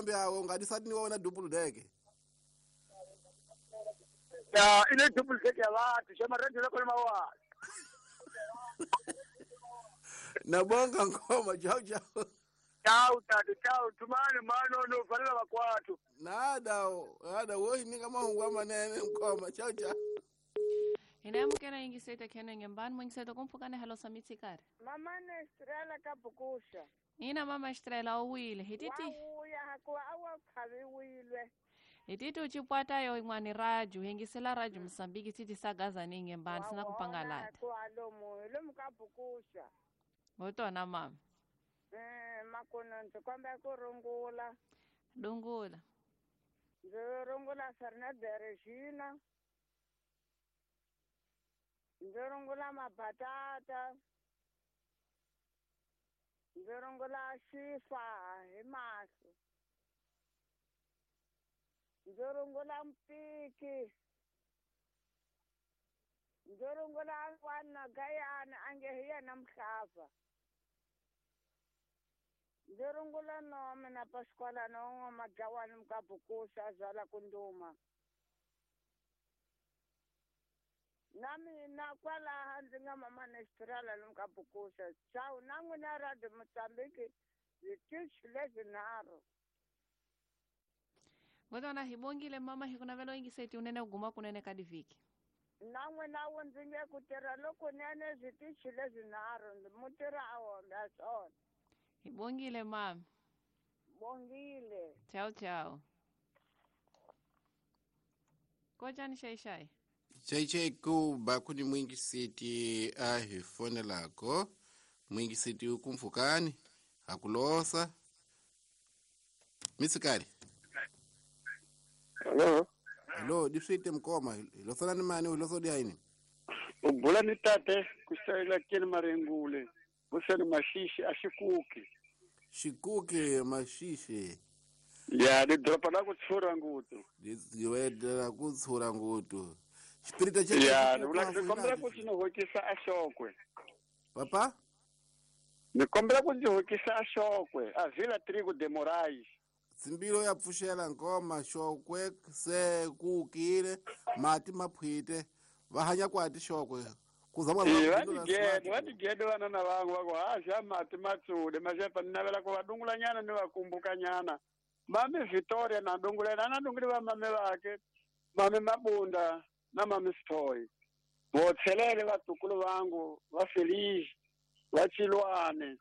kambe awe u nga disati ni wa wena double deck. Ya ile double deck ya vatu xa marendo loko ma wa. Nabonga ngoma chao chao. Chao tatu chao tumani mano no valela vakwatu. Nada nada wo ni kama ungwa manene ngoma chao chao. Inamukela yingiseta kheno ngembani mwingiseta kumphukane halo samitsikari. Mama ne Estrela kabukusha. Ina mama Estrela owile hititi. Wauya hakuwa awa khabiwilwe. Hititi uchipwata yo imwani raju hingisela raju Msambiki titi sagaza ninge mbani sina kupangalata. Hakuwa lomu lomu kabukusha. Ngotona mama. Makono ntsikomba kurungula. Dungula. Nzirungula Fernanda Regina. Nzirungula mabatata. Nzirungula xifa hi mahlo. Nzirungula mpiki. Nzirungula n'wana Gayana ange hi yena Mhlava. Nzirungula nome na Pasquala no Majawani Mkabukusa zala kunduma. Nami na kwala ndzi nga mama Nestrala Mkabukusa. Chao nangu na radio Mozambique zitichi lezinaro. Ngotona hibongile mama hikunavelo ingiseti unene uguma kunene kadiviki. Nangu nawo ndzi nge kutirha loko nene zitichi lezinaro mutira awombe asona. Bongile mama. Bongile. Chao chao. Kojani shai shai. Chai chai ku bakuni mwingi siti ahifone lako. Mwingi siti ukumfukani. Hakulosa. Mitsikari. Hello. Hello, difite mkoma. Ilosana ni mani uloso diaini. Ubula ni tate kusaila kile marengule. Busani mashishi ashikuki. Shikuki mashishi. Ya ni dropa la kutsura ngutu. Liwedela kutsura ngutu. Spirita che. Ya, ni kombela kutsinohokisa ashokwe. Papa? Ni kombela kutsinohokisa ashokwe. Avila Trigo de Moraes. Simbilo ya pfuxela ngoma shokwe se kukile mati maphwite va hanya kwati shokwe. Vatigede vana na vangu vako haxa mati matsude maxepa ni navela ku va dungulanyana ni va kumbukanyana. Mami Victoria na dungulela na dunguli va mame vake mame Mabunda na mame Sithoyi vo tlhelele vatukulu vangu va Feliz va Chilwane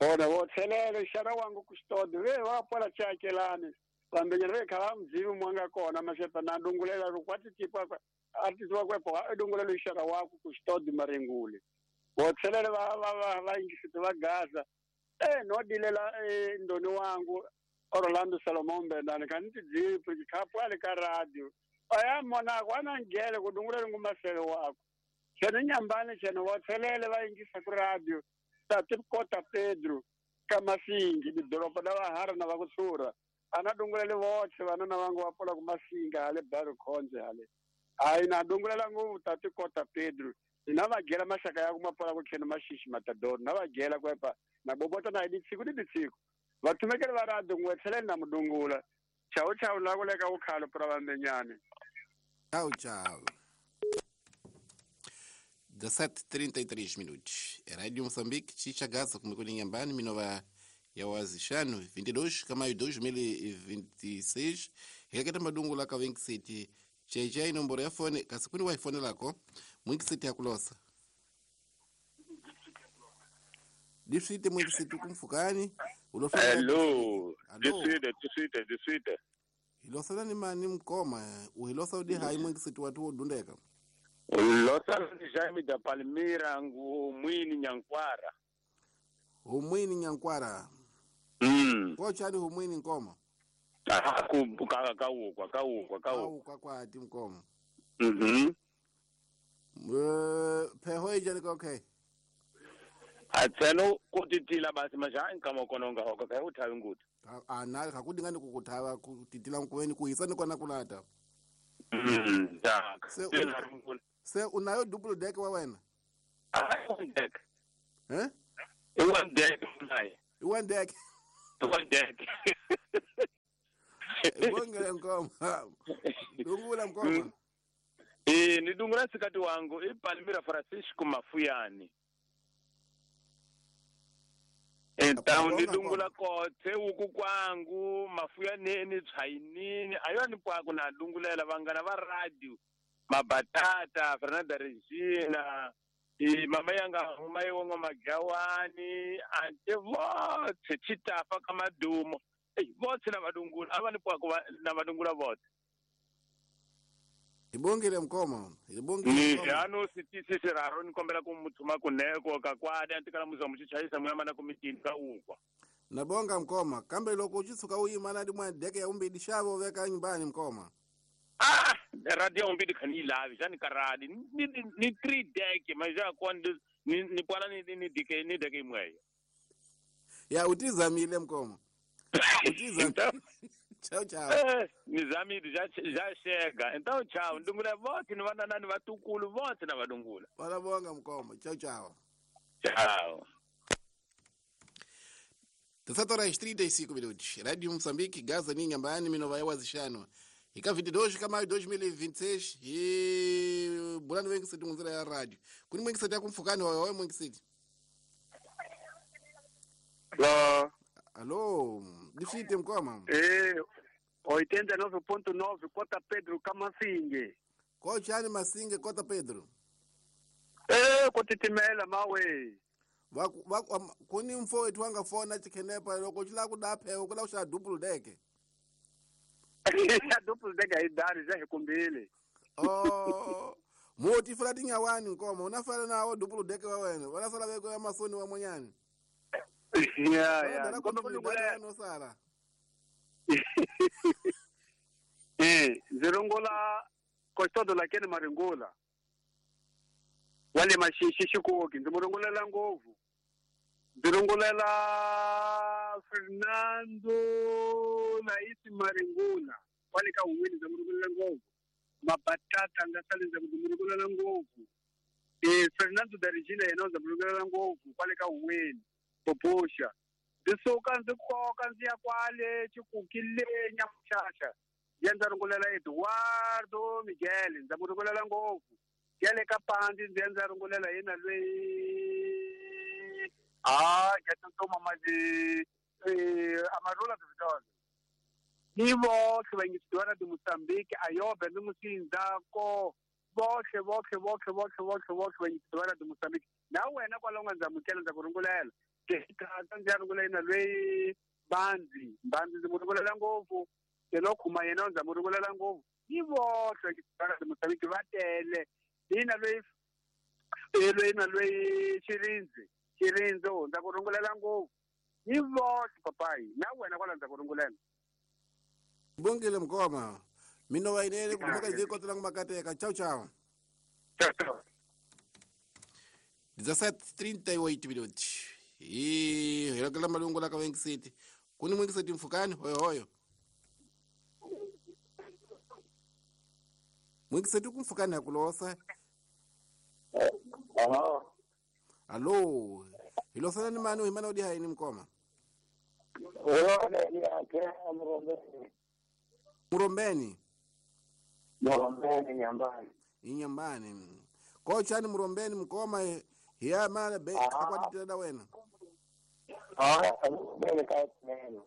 vona vo tlhelele xana wangu kustodi ve va pola chakelani vambenyana ve kha va mudzivi mwanga kona maxepa na dungulela ro kwati tipa artist wa kwepo edungulelo ishara wako kustodi marengule botselele va ingisiti va Gaza no dilela ndoni wangu Orlando Salomon Bendane kanti dzipi khapwa ka radio aya mona kwana ngele kudungulela ngumasele wako chene nyambane chene botselele va ingisa ku radio tati Kota Pedro kamasingi doroba la vahara na va kutsura ana dungulele voxe vana na vangu va pola ku masinga hale baro khonje hale. Ai na dungulela nguvu tati Kota Pedro na vagela mashaka ya kumapola kukhena mashishi matador na vagela kwepa na bobota na iditsiko ni ditsiko vathumekele va radio ngwetheleni na mudungula chao chao la kuleka ukhalo pra vambenyane. Chao chao. 17:33 minutos. Radio Moçambique chichagaza kumekuni nyambani minova ya wazishano 22 kama 2026 heketa madungula ka City. Chai nomboro ya fone kasi kuni wa ifone lako mwingi siti ya kulosa. Difite mwingi siti kumfukani. Hello. Difite. Hilosa ni mani mkoma. Uhilosa udi hai mwingi siti watu udundeka. Ulosa ni Jaime da Palmira ngu mwini nyankwara. Humwini nyankwara. Kwa chani humwini nkoma. Kaukwa kwa ati mkomo. Pheho ijani ka okay. Atselo kutitila basi majani kama kononga hoka ka uthawi ngutu. Ana kakudingani kukuthava kutitila nkuweni kuhisa ni kona kulata. Se unayo double deck wa wena? One deck. Eh? One deck unayo. One deck. One deck. Bongele mkoma. Dungula mkoma. Ni dungula sikati wangu i Palmira Francisco Mafuyani. Então ni dungula kothe uku kwangu Mafuyaneni Tshainini ayoni pwaku na dungulela vangana va radio Mabatata Fernanda Regina i mama yanga huma yongo Magawani ante vothe chitafa ka madumo vothe na vadungula ava ni pwaku na vadungula vothe. Ibongile mkoma, ibongile mkoma. Ano sitisi siraro nikombela kumuthuma kuneko kakwadi antikala muza muchichayisa muyama na kumitini ka ukwa. Nabonga mkoma, kambe loko uchisuka uyima na dimwa deke ya umbidi shavo veka nyumbani mkoma. Ah, radio umbidi khani lavi, jani karadi. Ni 3 deke, maja kwa ni pwala ni deke ni deke imwe. Ya utizamile mkoma. Utizamile. Tchau, tchau. Nizamile já chega. Então, tchau. Ndungula vote ni vanana ni vatukulu vote na vadungula. Valabonga mkoma. Tchau, tchau. Tchau. 17 horas 35 minutos. Rádio Moçambique, Gaza Ninhambane, Minova Wazixano. E cá 22 de maio de 2026 e bulano wengi siti munzira ya rádio. Kuni mwengi siti akumfukani hoyo mwengi siti. Alô. Alô, difite mkoma. 89.9 Cota Pedro Kamasinge. Kochani Masinge Cota Pedro. Kotitimela mawe. Kuni mfo wetu wanga fona chikenepa loko chila kudaphe kula usha double deck. Double deck ayidari za hikumbili. Oh. Moti fula tinyawani nkoma unafala nawo double deck wa wena. Wala sala beko ya masoni wa monyani. Yeah. Ngombe kulungula no sala. Zirongola kostodo lakini maringola. Wale mashishi shikuoki ndimurongolela ngovu. Ndirongolela Fernando Laisi Maringula. Wale ka uwini ndimurongolela ngovu. Mabatata ngasali ndimurongolela ngovu. Fernando da Regina yena ndimurongolela ngovu. Wale ka uwini. Poposha. Ndisuka ndikoka nziya kwale chikukile nyamushasha. Ndiyanza rungulela Eduardo Miguel, ndza ngopfu. Yale ka pandi ndiyanza rungulela yena lweyi. Ah, ngiyatsoma manje amarula Vidal. Ni vohle vangisiwana di Mozambique ayobe ni musinzako. Vohle vangisiwana di Mozambique. Na wena kwala unga ndzamukela ndza ku rungulela. Ndzi ya rungulela yena lweyi Banzi, Banzi ndzi mu rungulela ngopfu. Lokhuma yena ndza mu rungulela ngopfu. Ni vohle vangisiwana di Mozambique va tele. Hina lweyi lweyi Chirinzi, Chirinzi ndza ku rungulela ngopfu. Ni vohle papai, na wena kwala ndza ku rungulela. Bongile mkoma. Mino wainele kumaka ziko tulangu makateka. Tchau, tchau. Tchau, tchau. 17:38 minutos. E hirokela malungu la ka City. Kuni Mwengi City mfukani hoyo hoyo. Mwengi City kumfukani akulosa. Alô. Alô. Hilosana ni mani uhimana odi haini mkoma. Murombeni. Murombeni nyambani. Inyambani. Kochani Murombeni mkoma hiya mara be akwatitela wena. Ah, bele ka neno.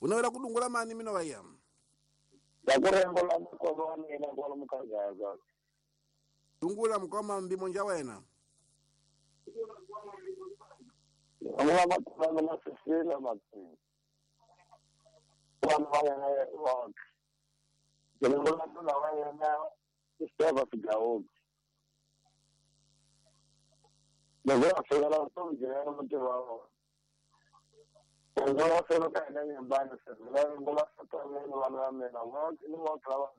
Unaweza kudungula mani mina waya. Ndakurembola mkoma mina ngola mkazaza. Dungula mkoma mbimonja wena. Ngula makoma na sisila makini. Wana waya wa. Ngula tuna waya na istava figaoki. Ngula sala mtonje mtu wao. Ngula sala kana nyumbani sasa. Ngula sala wana mena wote ni wote wa.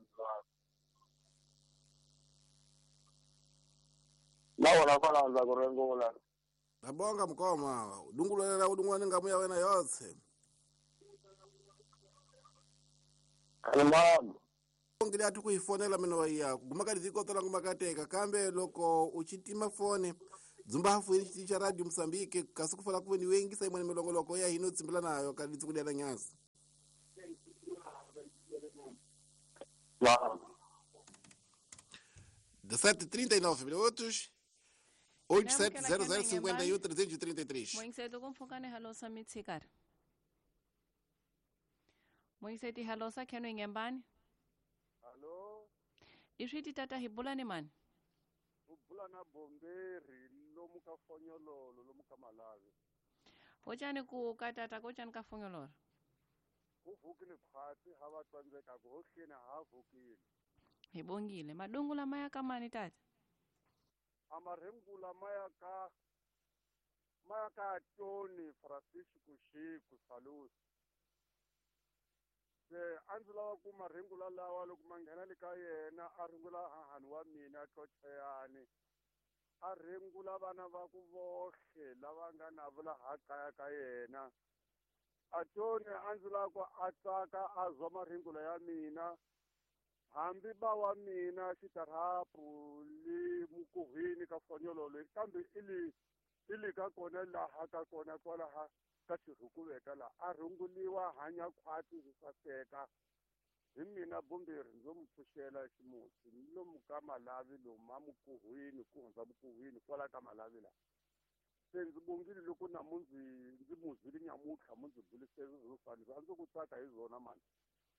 Na wala za kurengola. Nabonga mkoma, dungula udungula ngamuya wena yose. Kalma. Ngili atu kuifonela meno ya gumaka ziko tola ngumakateka kambe loko uchitima fone dzumba hafu ili cha radio Mozambique kasukufala kuwe ni wengi saimwe milongoloko ya hino tsimbila nayo kalitsi kudyana nyasi. Wow. 17:39 minutos. 8700 51 333. Moinseto kumfukane halosa mitsikari. Moinseti halosa kheno ingembani. Hallo. Iswiti tata hibulani mani. Ubulana bomberi lomu ka fonyololo lomu ka Malawi. Hochani ku katata kochani ka fonyololo. Kuvukile khwatsi ha va tsandzeka ku hohleni ha vukile. Hibongile madungula maya kamani tata. Amarengula maya ka Tony Francisco Xiku Salusi. Se a ndzi lava ku marengula lawa loko ma nghena le ka yena a rungula hahani wa mina Tlocheyani. A rengula vana va ku vohle lava nga na vula ha kaya ka yena. A Tony a ndzi lava ku a tsaka a zwa marengula ya mina. Hambi ba wa mina xitarapu le mukuhwini ka fonyololo kambe ili ka kona laha ka kona kwalaha ka xirhukuveka laha a rhunguliwa hanya khwati swi saseka hi mina Bomberi ndzo mu pfuxela ximusi ni lomu ka Malawi lomu a mukuhwini ku hundza mukuhwini kwala ka Malawi laha se ndzi bongile loko namunzi ndzi muzwile nyamutlha mu ndzi bulisele swo fana a ndzi ku tsaka hi zona mani.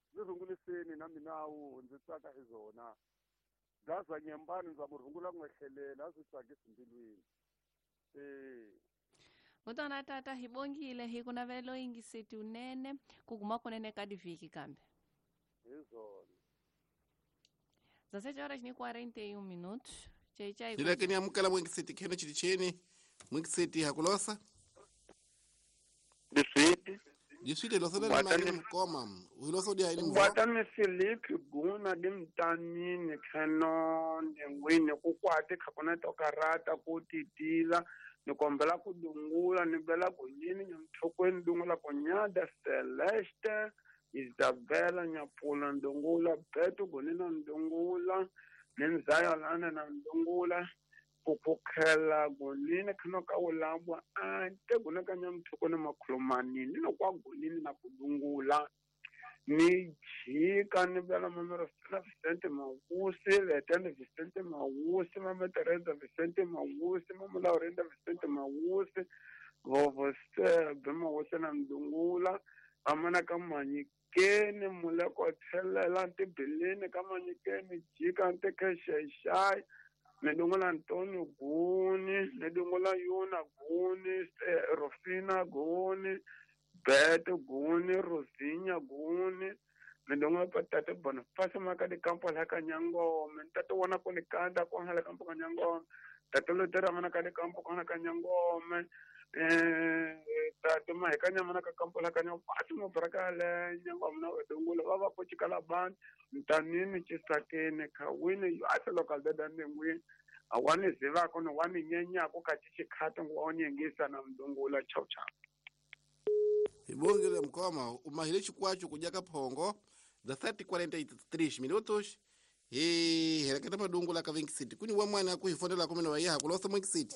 Ndzi rhunguliseni na minawu ndzi tsaka hi zona. Gaza nyembani ndza mu rhungula n'wehlelela a swi tsakisi mbilwini. Mutwana tata hibongile hi ku navelo yingiseti unene ku guma kunene ka divhiki kambe. Hi zona. 17 horas ni 41 minutos. Chai chai. Ndileke ni amukela mwingiseti kheno chilicheni. Mwingiseti hakulosa. Diswiti. Diswiti losa le mali mkoma. Uloso dia ini mvo. Kwata Philip guna dimtanini kheno ndengwini ku kwate khakona tokarata ku titila ni kombela ku dungula ni bela ku yini nyamthokweni dungula ku nyada Celeste Isabella Nyapula ndungula Beto gonina ndungula Nenzaya lana na ndungula kukhela gonini khano ka ulambwa ante gona ka nyamthokweni makhulumani ni no kwa gonini na kudungula ni jika ni bela mamero Vicente Mawusi Letende Vicente Mawusi Mama Teresa Vicente Mawusi Mama Laurenda Vicente Mawusi Vovo Sebe Mawusi na ndungula amana ka manyikeni muleko thelela ntibilini ka manyikeni jika ntekesheshai ni dungula Antonio Guni ni dungula Yuna Guni Rufina Guni Beto Guni Rosinha Guni ni dungula Patate Boniface maka di kampo la ka Nyangome ntate wona ku ni kanda ku hala kampo ka Nyangome tate Lutera mana ka di kampo ka ka Nyangome tate mahika nyamana ka kampo la ka Nyangome pasi mo braka le Nyangome na dungula va va ku chikala ban ntanini chisakeni khawini yo ase local dada ndengwini awani zivako no wani nyenyako ka chichikhato ngo onyengisa na mdungula chau chau. Ibongile mkoma umahile chikwacho kujaka phongo 17:43 minutos. He hereketa madungula ka City kuni wa mwana ku hifonela kumene wa yaha kulosa Mwingi City.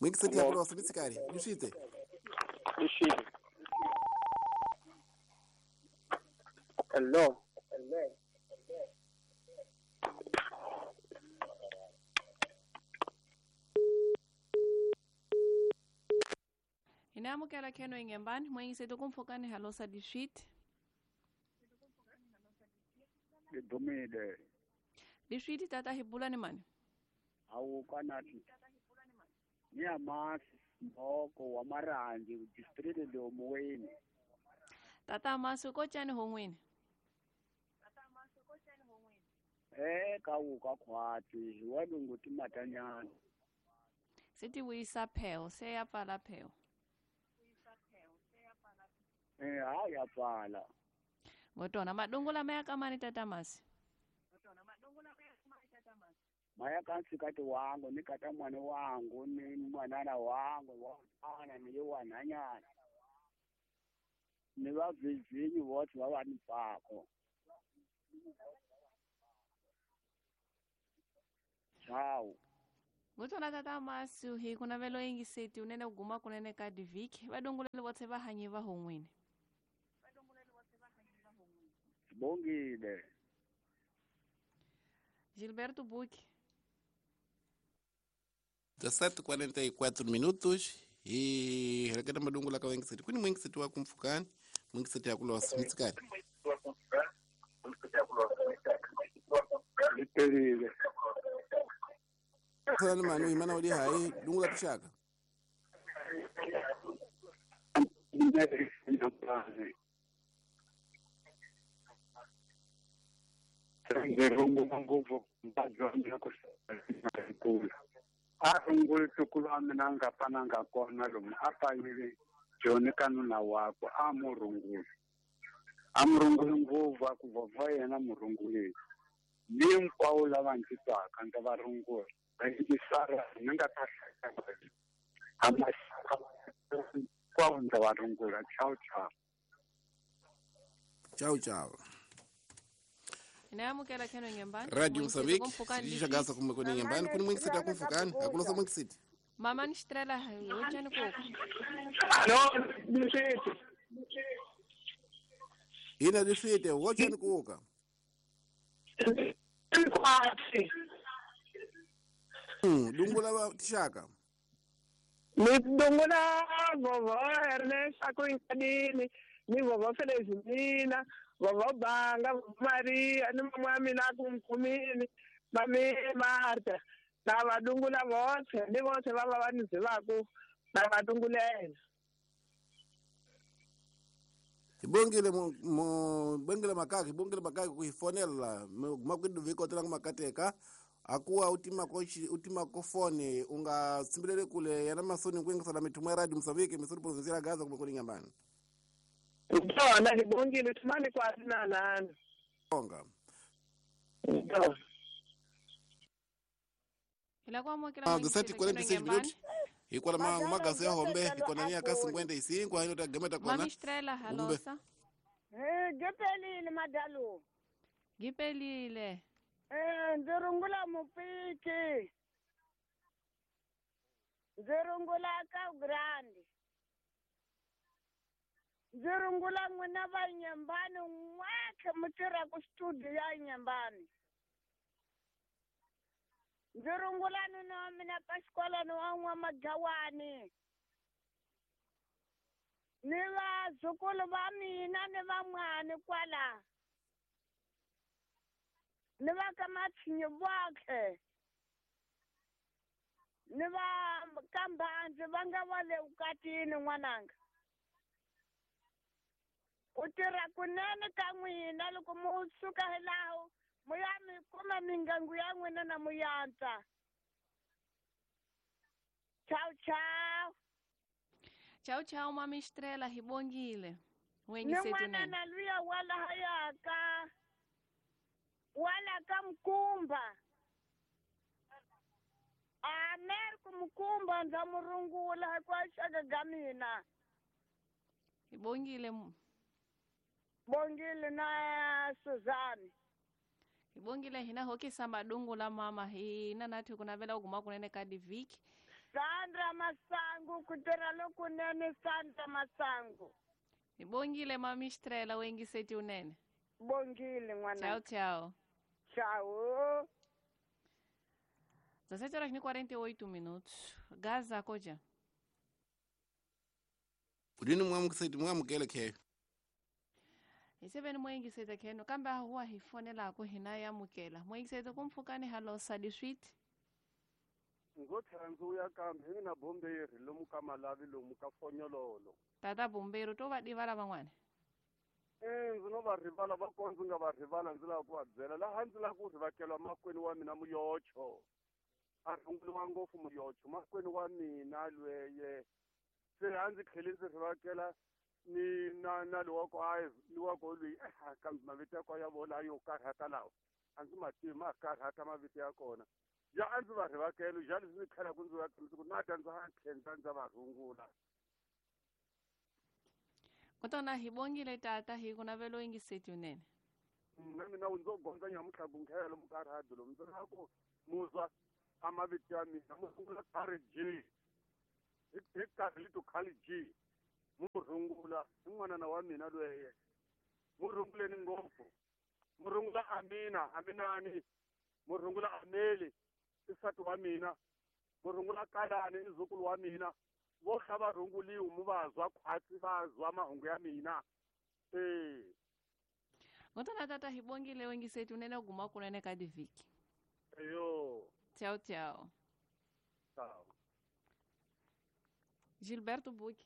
Mwingi City yakulosa mitsikari yushite. Yushite. Hello. Inamukela kheno ingembani mwingi kumfukani halosa dishit. Ngidumile. Dishit tata hibulani mani. Awu kanathi. Niyamasi mboko wa Marangi district lomuweni. Tata masu kochani hongwini. Kawu kakhwati walungu timatanyana. Sithi wisa pheo seyapala pheo. Hayi yapala. Ngotona madungula maya kamani tata masi. Maya kansikati wangu ni kata mwana wangu ni mwanana wangu wana ni wananyana. Ni vavizinyi vote va va ni pfako. Ciao. Ngutona tata masu hi kuna velo ingiseti unene kuguma kunene ka diviki vadungulele votse va hanyi va hon'wini. Bongile. Gilberto Buque. 17:44 minutos e reketa madungu la kawengiseti kuni mwengiseti wa kumfukani mwengiseti yakulosa mitsikani litelile sana manu imana uli hai dungu la tushaka ndirungu nguvu mbajwa kusekula arunguli tukulu amina nga pananga kona lomu apayile joni kanuna wakwe a murunguli amurunguli nguvu akuvova yena murungulile hinkwavo lava ndzi twaka ndza va rungula vayingisara ni nga ta hinkwavo ndza va rungula. Chao chao. Chao chao. Inayamukela kheno nyembani. Radio Mozambique sishagaza kumekoni nyembani kuni mwingisiti akumfukani akulosa mwingisiti. Mama ni Estrela uchani kuko. No, nisiti. Ina disite wochani kuka. Kwati. Dungula ba tishaka. Ni dungula vovo Ernest akuinkadini ni vovo Felizmina vovo Banga Maria ni mama mina kumkumini mami Marta na vadungula vose ni vose va va ni zivaku na vadungulela. Ibongile mo bongile makaki bongile makaki kuifonela makwidu vikotela makateka akuwa utima kochi utima kofone unga simbilele kule yana masoni kuingisala mitumwa radio Mozambique misuri provincia Gaza kumekoni nyambani. Ndona ibongile tumani kwa nana. Bonga. Ila kwa mwakila mwingi 46 minutos. Ikwala magazi ya hombe ikona nia kasi ngwende isinkwa hino tagemeta kona. Mami Estrela halosa. Gipelile madalu. Gipelile. Ndirungula mupiki. Ndirungula ka grande. Ndirungula n'wina va nyembani n'wakhe mi tirha ku studio ya nyembani. Ndirungula nuna wa mina Pasqualani wa N'wa-Magawani. Ni vazukulu va mina ni van'wani kwala. Ni va ka Matshinyi voxe. Ni va ka Mbandzi va nga va le vukatini n'wananga. Ku tirha kunene ka n'wina loko mu suka hi laho muya mi kuma mingangu ya n'wina na muyantsa. Chao chao. Chao chao mami Estrela hibongile. Ni n'wana na luya wala hayaka. Wala ka Mkumba. Amer ku Mkumba ndza murungula kwa xaka ga mina. Hibongile. Bongile na Suzanne. Ibongile hina hokisa madungu la mama hina nathi kunavela uguma kunene ka diviki. Sandra Masangu kutirha lokunene Sandra Masangu. Ibongile mami Estrela wengiseti unene. Bongile n'wana. Chao chao. Chao. 17:48 minutos. Gaza koja. Udini mwamukiseti mwamukele khe. Iseveni mwengisete kheno kambe huwa hifonela ku hina yamukela mwengisete kumfukani halosa diswit Ngotlhela ndzi vuya kambe hi na bomberi lomu ka Malavi lomu ka Fonyololo. Tata bomberi to va divala van'wana. Ndzi no va rivala va kona ndzi nga va rivala ndzi lava ku va byela laha ndzi lava ku rivakelwa makwenu wa mina Muyocho. A runguriwa ngopfu Muyocho makwenu wa mina lweye. Se a ndzi tlhele ndzi rivakela ni na na loko a loko loyi kambe mavito ya kona ya vona yo karhata lawa a ndzi ma tivi ma karhata mavito ya kona ya a ndzi va rivakelo ja leswi ndzi tlhelaku ndzi va ku na ta ndza tlhela ndza va rungula. Kotona hibongile tata hi ku navelo yingiseti unene. Na mina ndzo gondza nyamutlha ku nkhela lomu ka radio lomu ndzi lava ku muzwa a mavito ya mina mu sungula khari G hi karhi lito khali G murungula i n'wanana wa mina lweye murunguleni ngopfu. Murungula Amina Aminani murungula Ameli i nsati wa mina murungula Kalani i nzukulu wa mina vo kha va runguliwe mu va zwa khwatsi va zwa mahungu ya mina Ngotana tata hibongile wengi setu nene guma kunene kadi viki. Eyo. Tchau, tchau. Tchau. Gilberto Buque.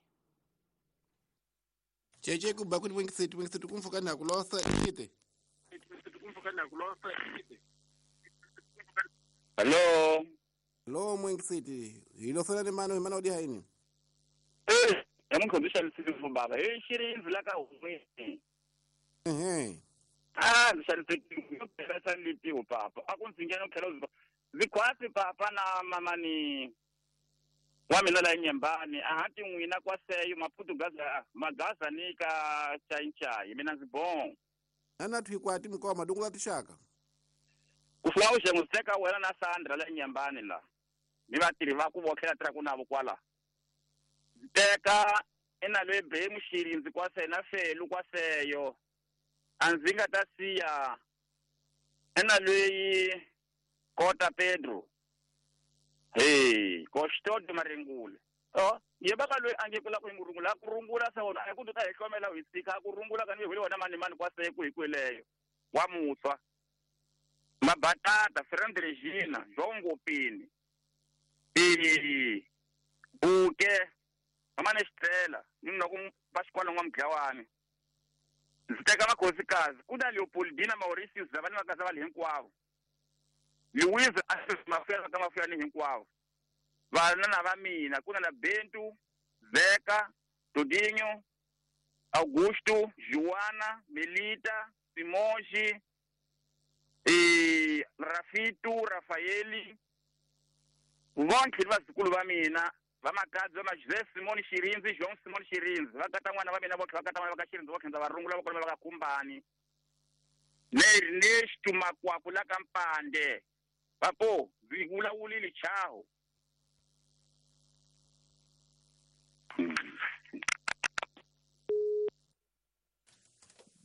Cheche kuba kuti wengi setu kumfuka na kulosa ikite. Hello. Lo mwengi setu. Hilosana ni mano imana odi haini. Yamukhonzisha lisifu baba. Shiri inzilaka umwe. Ah, ndisaliphela papa. Akunzingena kuphela uziba. Zikhwasi papa na mama ni wa mina la nyembani ahati n'wina kwaseyo Maputo gaza magaza ni ka chai mina ndzi bon. Ana thwikwati mkoma dungula tixaka. Ku fula u xenguseka wena na Sandra la nyembani la. Ni vatirhi va ku vokhela tirha ku navo kwala. Teka ina le be muxirindzi kwaseyo na felu kwaseyo. Anzinga ta siya ena leyi Kota Pedro hey koshtodo marengule oh yebaka loyi ange kula ku ngurungula ku rungula sa wona a ku ta hi hlomela hi tsika ku rungula ka ni hwele wona mani mani kwase ku hikweleyo wa mutswa mabatata Friend Regina Jongopini buke mama ne xitela ni na ku va xikwalo n'wa mudlawani ndzi teka makhosikazi ku na Leopoldina Mauritius lava ni vakaza va le hinkwavo Louise Mafela ka Mafela ni hinkwavo vana na va mina ku na na Bentu Zeka Dodinho Augusto Joana Melita Simonji Rafitu Rafaeli vonke vazukulu va mina vamakadzi va Joseph Simon Xirinzi João Simon Xirinzi va kata n'wana va mina votlhe va kata n'wana va ka Xirinzi votlhe ndza va rungula va kona va ka Kumbani ne Xitumakwaku la ka Mpande vapo ndzi vulavulile chaho.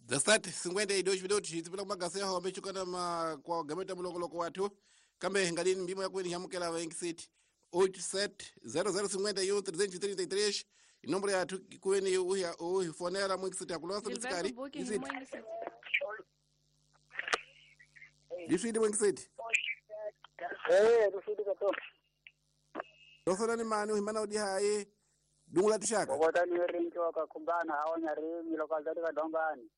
Da sat 52 minutos tsipela kumagasi ya home chukana ma kwa gameta mulongoloko wathu kambe ngalini mbimo ya kwini yamukela va City 87 0051 333 inomboro ya thu kweni uhifonela mwingi ya kulosa mitsikari Liswidi mwingi city Liswidi kato Losana ni mani uhimana udi haye dungula tishaka Bogota ni rinki wakakumbana hawa nyarimi lokazati kadombani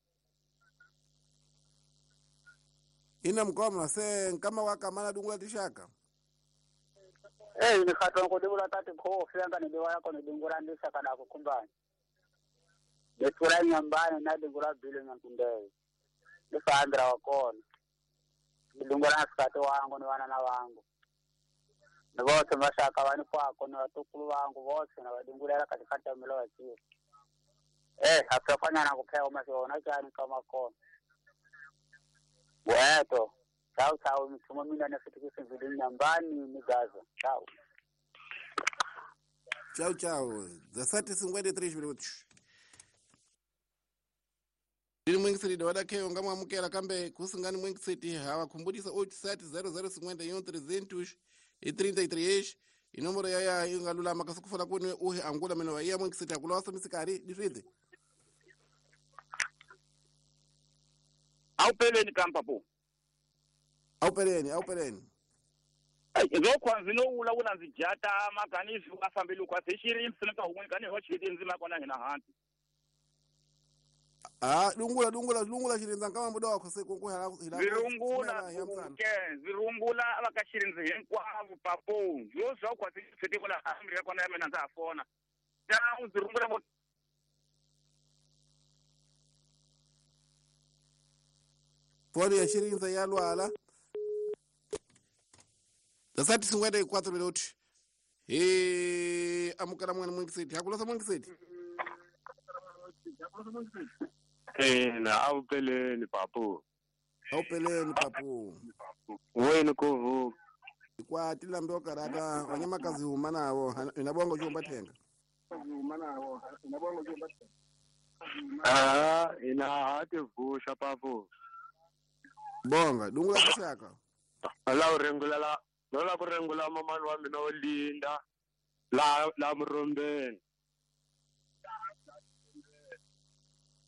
Ina mkoma se nkama wakamana dungula tishaka Ni khatongo dingula tati khofi anga ni diwaya kono dingula ndisa kada kukumbani Netura nyambani na dingula bile nyankunde Nifandra wakona Dingula nasikati wangu ni wana na wangu Ni vose mashaka wani kwako ni watukulu wangu vose na wadingula katikati ya milo wachio Hafanya na kupea umasiona chani kama kona Weto Chao chao mtumo mina nafitikisi mvili nyambani ni Gaza. Chao. Tchau, tchau. 17:53 minutos. Ndiri mwingi city wadakheyo ngamwamukela kambe kusingani mwingi city hawakhumbudisa 87 0051 333 inomboro yaya ingalulama kasukufala kuni uhi angula mino wa iya mwingi city akulosa misikari diswidze. Awupeleni kampa po. Awupeleni. Nzokwa nzino ula ndzi jata makani zwi afambile kwa seshiri msinka hun'we kani ho chiti nzima kona hina hanti. Ah, dungula Xirinzi nkama muda wakho se ku hela Zirungula zirungula va ka Xirinzi hinkwavo papo. Yo zwa kwa seshiri kola amri kona ya mina ndza fona. Ta zirungula vo Foni ya Xirinzi ya lwala. 7:54 minutos. Amukela mwana mwingi city. Hakulosa mwingi city. Na awupeleni papo. Awupeleni papo. Wena kuvu. Kwa tilambe okarata wanyamakazi huma navo inabongo chomba thenga. Ah, ina hati vusha papo. Bonga dungula tixaka. La u rengulela no la ku rengula mamani wa mina wo Linda la Murombeni.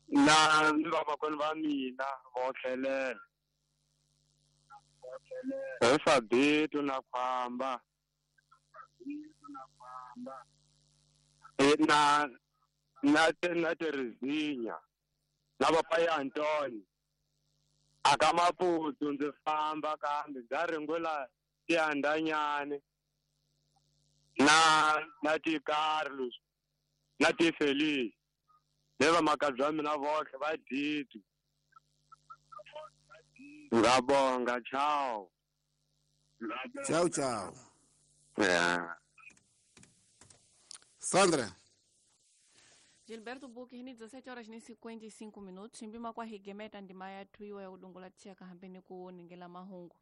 Na ni vamakwenu va mina vo tlhelela. Hi Fabito na Khwamba. Na na Terezinha na papai Antônio. Aka Maputo ndzi famba kambe ndza ringula tiandanyani na ti Carlos na ti Feliz ne vamakabye wa mina vohle va didi. Ngabonga, ciao. Ciao ciao. Yeah. Sandra. Gilberto Buki ni 17 horas ni 55 minutos mbima kwa higemeta ndima ya tuiwa ya udungula tshaka hambeni ku ningela mahungu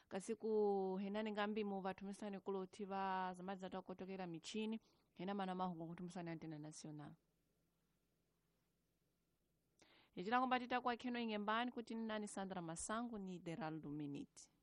kasi ku henani ngambi mu vathumisani kuloti va zamadza ta kotokela michini hena mana mahungu kuthumisani antena national Ijila kwamba tita kwa keno ingembani kuti nani Sandra Masangu ni Deraldo Miniti.